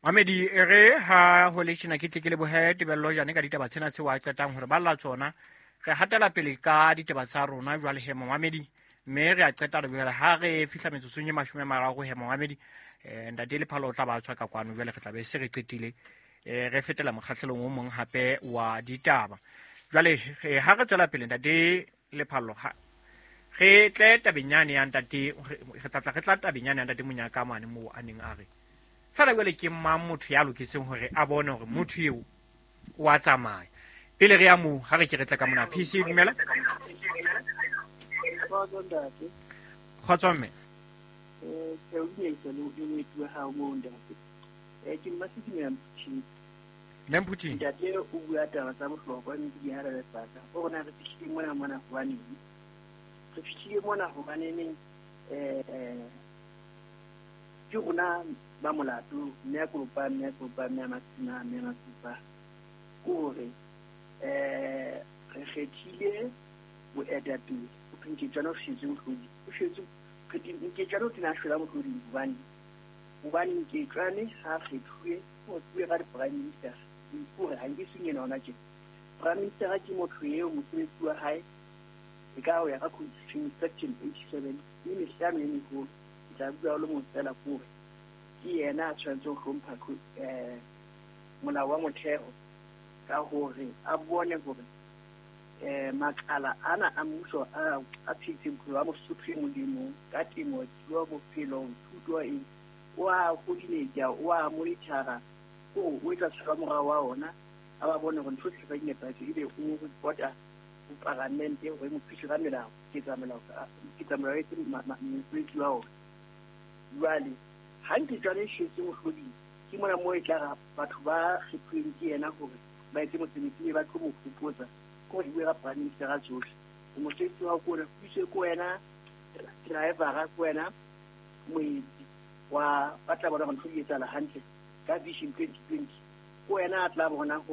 Mamedi, e re ha ho le tjena ke tle ke lebohe Tebello Jane ka ditaba tsena tseo a qetang hore balla tsona. Re hatela pele ka ditaba tsa rona jwale he momamedi, mme re a qeta re jwale ha re fihla metsotsong e 30 he momamedi, ntate Lephalo o tla ba tswa ka kwano jwale re tla be se re qetile, re fetela mokgahlelong o mong hape wa ditaba. Jwale ha re tswela pele ntate Lephalo, ha re tle tabeng yane ya ntate, re tla tla re tla tabeng yane ya ntate Monyaka mane moo a neng a re fela jwale ke mang motho ya loketseng hore a bone hore motho eo o a tsamaya. Pele re ya moo, ha re ke re tle ka mona. PC, dumela. Kgotso mme. Ke o dumedisa le moeti wa hao moo ntate. Ke Mmasedumela Mphuthing. Mme Mphuthing. Ntate o bua taba tsa bohlokwa mme di hara lefaka. O rona re fihlile mona mona hobaneng? Re fihlile mona hobaneng ke rona ba molato, mme a kopa, mme a kopa, mme a masima, mme a masupa. Ke hore re kgethile boetapele. Ho thwe Nketswana o shwetse mohlodi. O shwetse, Nketswana o tena a shwela mohloding hobane, hobane Nketswane ha a kgethuwe, o kgethuwe ka di-prime minister. Ke hore ha nke seng ena hona tjena. Prime minister ke motho eo mosebetsi wa hae e ka ho ya ka Constitution section 87 e mehlano e meholo. Ke tla bua le mong fela ke hore ke yena a tshwanetseng ho hlompha molao wa motheo ka hore a bone hore makala ana a mmuso a phetseng bophelo ba Mosotho e mong le mong ka temo, thuo, bophelo, thuto eng, o a coordinate, o a monitora, o etsa tshwara morao wa ona, a ba bone hore ntho tsohle tsa di nepahetse, ebe o reporta ho paramente hore mo thuse ka melao, ketsa molao etse mosebetsi wa ona. Jwale ha Nketswana e shwetse mohloding, ke mona moo e tla ra batho ba kgethuweng ke yena hore ba etse mosebetsi mme ba tlo mo hopotsa ke hore di bue ka prime minister tsohle. Mosebetsi wa hao ke ona, puso ke wena driver, ke wena moetsi wa ba tla bona hore ntho di etsahala hantle ka Vision 2020. Ke wena a tla bona.